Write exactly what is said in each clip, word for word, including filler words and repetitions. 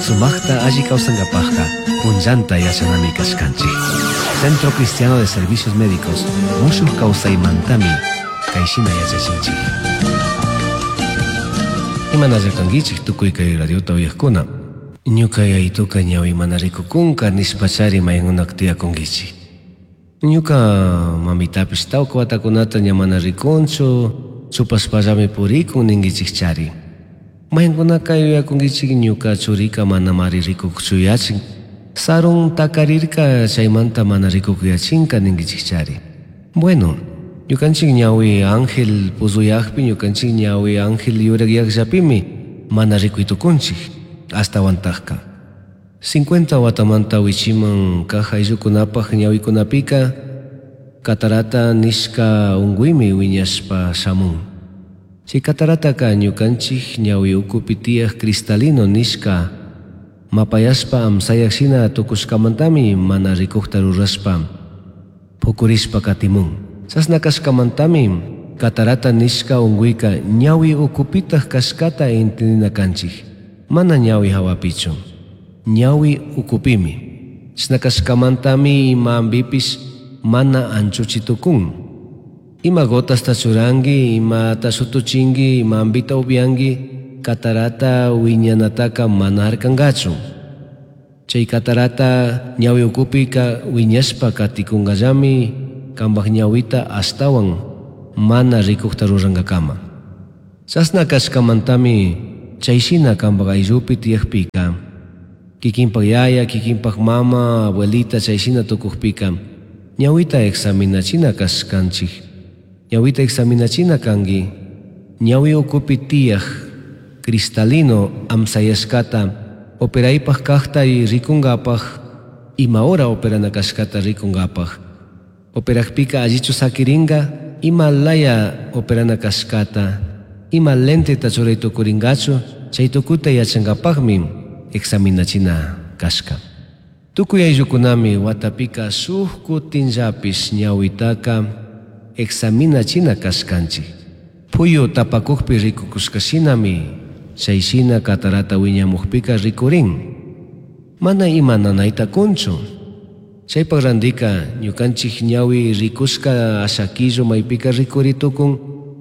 Sumajta alli kawsankapajka punllanta yachanami kashkanchik. Centro Cristiano de Servicios Médicos mushuj kawsaymantami kayshina yachachinchik. Imanalla kankichik tukuy kay radiota uyaqkuna. Ñuka yayituka ñawi mana rikukunka nishpachari maykunak tiyakunkichik. Ñuka mamitapish tawka watakunata ña mana rikunchu, chupashpallami purikun ninkichikchari. Maykunaka yuyakunkichik ñuka churika manamari rikukchu yachin. Sarun takarirka chaymanta mana rikukuyachinka ninkichikchari. Bueno, ñukanchik ñawi ángel puzuyakpi, ñukanchik ñawi ángel yurakyakllapimi mana rikuy tukunchik astawantakka. cincuenta watamanta wichiman kaq ayllukunapaq ñawikunapika catarata nishka unquymi wiñashpa shamun. Chay catarataka ñukanchik ñawi ukupi tiyaq cristalino nishka mapayashpa amsayak shina tukushkamantami mana rikukta rurashpa pukurishpa katimun. Chashna kashkamantami catarata nishka unquyka ñawi ukupitaq kashkata entendina kanchik, mana ñawi hawapichu, ñawi ukupimi. Chashna kashkamantami ima ambipish mana anchuchi tukun. Ima gotasta churanki, imata shutuchinki, ima ambita upyanki, catarata wiñanataka mana harkankachu. Chay catarata ñawi ukupika wiñashpa katikunkallami kanpak ñawita ashtawan mana rikukta rurankakama. Chashna kashkamantami chayshina kanpak ayllupi tiyakpika, kikinpak yaya, kikinpak mama, abuelita chayshina tukukpika, ñawita examinachina kashkanchik. Ñawita examinachina kanki, ñawi ukupi tiyak cristalino amsayashkata operaypaj kajta y rikunkapaj, ima hora operana kashkata rikunkapaj. Operakpika allichu sakirinka, ima laya operana kashkata, ima lenteta churay tukurinkachu, chay tukuta yachankapajmi examinachina kashka. Tukuy ayllukunami watapika shuk kutinllapish ñawitaka examinachina kashkanchik. Puyu tapakukpi rikukushkashinami chayshina catarata wiñamukpika rikurin. Mana ima nanayta kunchu. Chaypak randika ñukanchik ñawi rikushka ashakillo maypika rikuri tukun,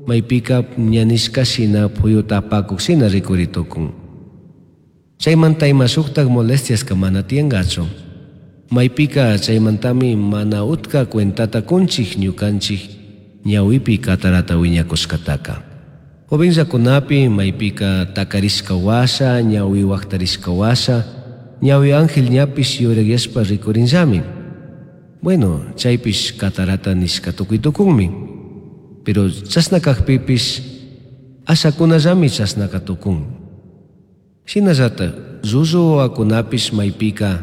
maypika ñanishka shina puyu tapakuk shina rikuri tukun. Chaymanta ima shuktak molestiaska mana tiyankachu. Maypika chaymantami mana utka cuentata kunchik ñukanchik ñawipi catarata wiñakushkataka. Jovenllakunapi maypika takarishka washa, ñawi waktarishka washa, ñawi ángel ñapish yurakyashpa rikurinllami. Bueno, chaypish catarata nishka tukuy tukunmi. Pero chashna kakpipish ashakunallami chashnaka tukun. Shinallata llullu wawakunapish maypika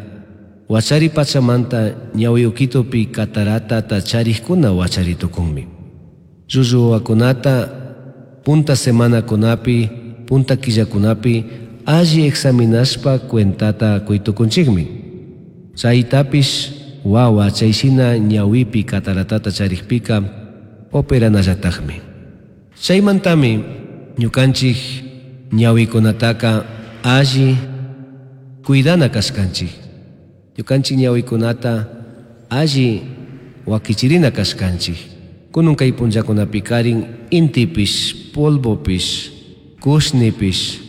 wachari pachamanta ñawi ukitupi cataratata charikuna wachari tukunmi. Llullu wawakunata punta semanakunapi, punta killakunapi alli examinashpa cuentata kuy tukunchikmi. Chaytapish wawa chayshina ñawipi cataratata charikpika operanallatakmi. Chaymantami ñukanchik ñawikunataka alli cuidana kashkanchik. Ñukanchik ñawikunata alli wakichirina kashkanchik. Kunun kay punllakunapikarin intipish, polvopish, kushnipish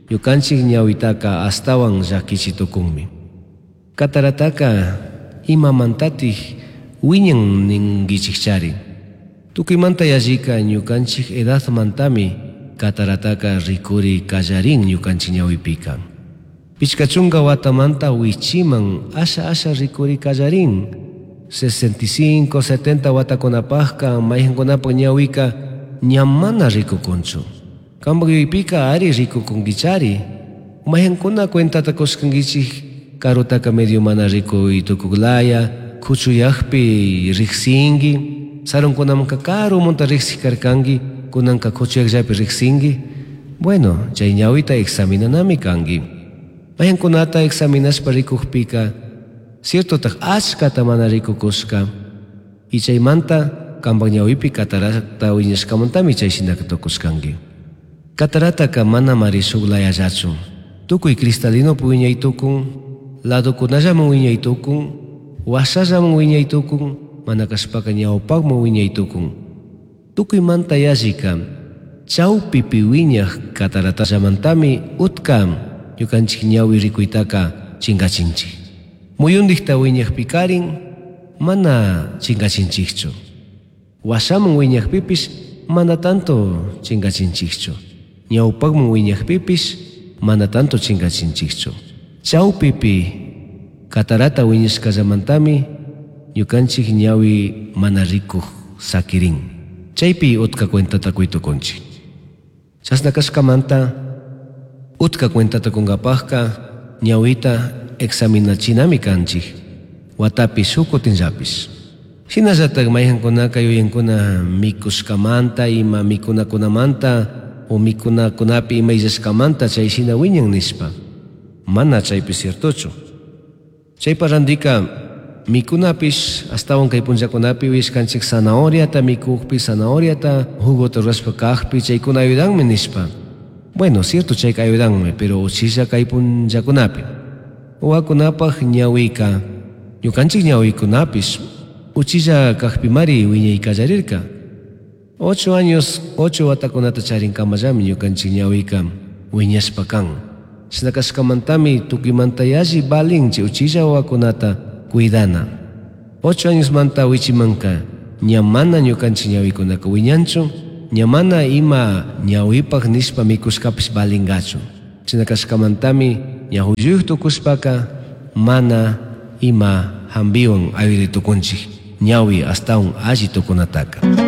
ñukanchik ñawitaka astawan llakichi tukunmi. Catarataka imamantatik wiñan ninkichikchari. Tukuymanta yallika ñukanchik edadmantami catarataka rikuri kallarin ñukanchik ñawipika. Pichka chunka watamanta wichiman asha asha rikuri kallarin. sesenta y cinco, setenta watakunapajka mayqankunapak ñawika ña mana rikukunchu. Kanpak yuypika ari rikukunkichari. Mayqankuna cuentata kushkankichik karutaka medio mana rikuy tukuklaya, kuchuyakpi riksinki, sarunkunamanka karumunta riksik karkanki, kunanka kuchuyakllapi riksinki. Bueno, chay ñawita examinanami kanki. Mayqankunata examinashpa rikukpika, ciertotaq achkata mana rikukushka, y chaymanta kanpak ñawipi catarata wiñashkamantami chayshinaka tukushkanki. Catarataka mana mari shuk layallachu. Tukuy cristalinopi wiñay tukun, ladokunallaman wiñay tukun, washallaman wiñay tukun, mana kashpaka ñawpakman wiñay tukun. Tukuymanta yallika chawpipi wiñaj cataratallamantami utka ñukanchik ñawi rikuytaka chinkachinchik. Muyundikta wiñajpikarin mana chinkachinchikchu. Washaman wiñajpipish mana tanto chinkachinchikchu. Ñawpakman wiñajpipish mana tanto chinkachinchikchu. Chawpipi catarata wiñashkallamantami ñukanchik ñawi mana rikuj sakirin. Chaypi utka cuentata kuy tukunchik. Chashna kashkamanta utka cuentata kunkapajka ñawita examinachinami kanchik. Watapi shuk kutinllapish. Shinallatak mayqankunaka yuyankuna mikushkamanta ima mikunakunamanta o mikunakunapi ima illashkamanta chay shina wiñan nishpa. Mana chaypi ciertochu. Chaypa randika mikunapish astawan kay punllakunapi uyashkanchik zanahoriata mikukpi, zanahoriata jugota rurashpa kajpi chaykuna ayudanmi nishpa. Bueno, cierto chayka ayudanmi, pero uchilla kay punllakunapi. Wawakunapaj ñawika, ñukanchik ñawikunapish uchilla kajpimari wiñay kallarirka. Ocho años, ocho watakunata charinkamallami ñukanchik ñawika wiñashpa kan. Chashna kashkamantami tukuymanta yalli valin chay uchilla wawakunata cuidana. Ocho años manta wichimanka ña mana ñukanchik ñawikunaka wiñanchu, ña mana ima ñawipaj nishpa mikushkapish valingachu. Chashna kashkamantami ña hulluyuq tukushpaka mana ima hambiwan ayuday tukunchik ñawi astawan alli tukunataka.